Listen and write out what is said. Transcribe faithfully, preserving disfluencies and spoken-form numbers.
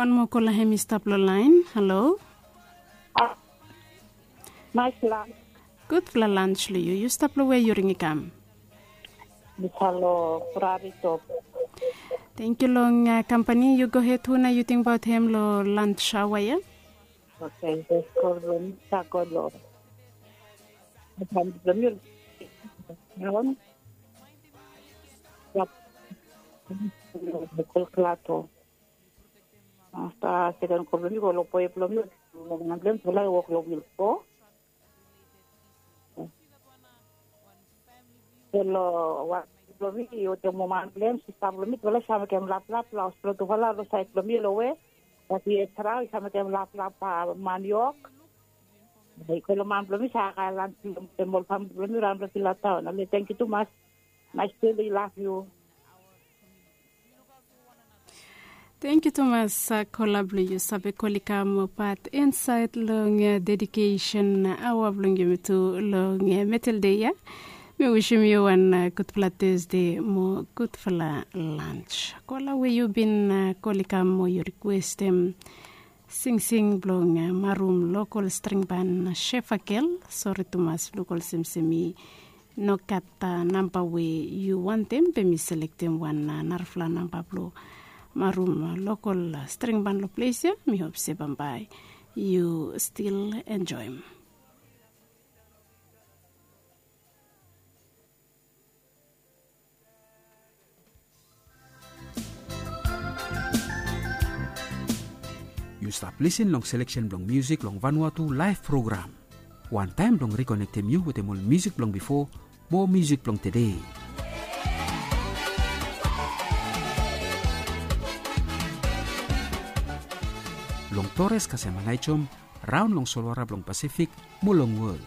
Wan moa kola hem i stap long lain. Halo. Naes lans. Gudfala lans long yu. Yu stap long we yu ring i kam? Misalo Prari Top. Thank yu long kampani. Yu go hed, hu nao yu tingbaot hem long lans aoa ya? Oke, jes kol bilong mi sa go long. Bilong mi. Yap. Kol Klato. Afta seken kol bilong mi go long boe bilong mi. Long bilong mi tufala i wok long wil. So long wan bilong mi i wetem woman bilong em, sista bilong mi tufala i sa mekem laplap long haus bilong tufala long sait bilong mi long we. Bat i etra i sa mekem laplap maniok. I go long man bilong mi sa kae lans bilong tem ol famili bilong mi raun long Filataon. Ale, tengkiu tumas. Naes tu long i laf yu. Tengkiu tumas. Kola bilong yu save kol i kam pat insaet long dedikesen aoa bilong yumi tu long metel de ya. Mi wisim yu wan gudfala Tuesde mo gudfala lans. Kola we yu bin kol i kam mo yu rikwestem singsing bilong marum lokol stringban Shefakel. Sori tumas, luk olsem se mi no gat namba we yu wantem, be mi selektem wan narafala namba bilong marum lokol stringban long ples ya. Mi hop se bambae yu stil enjoim. Yu stap lisin long seleksen bilong musik long Vanuatu Laif Program. Wantaim bilong rikonektim yu wetem ol musik bilong bipo mo musik bilong tede. Long Tores kasem Angaijom, raun long solwara bilong Pasifik mo long wol.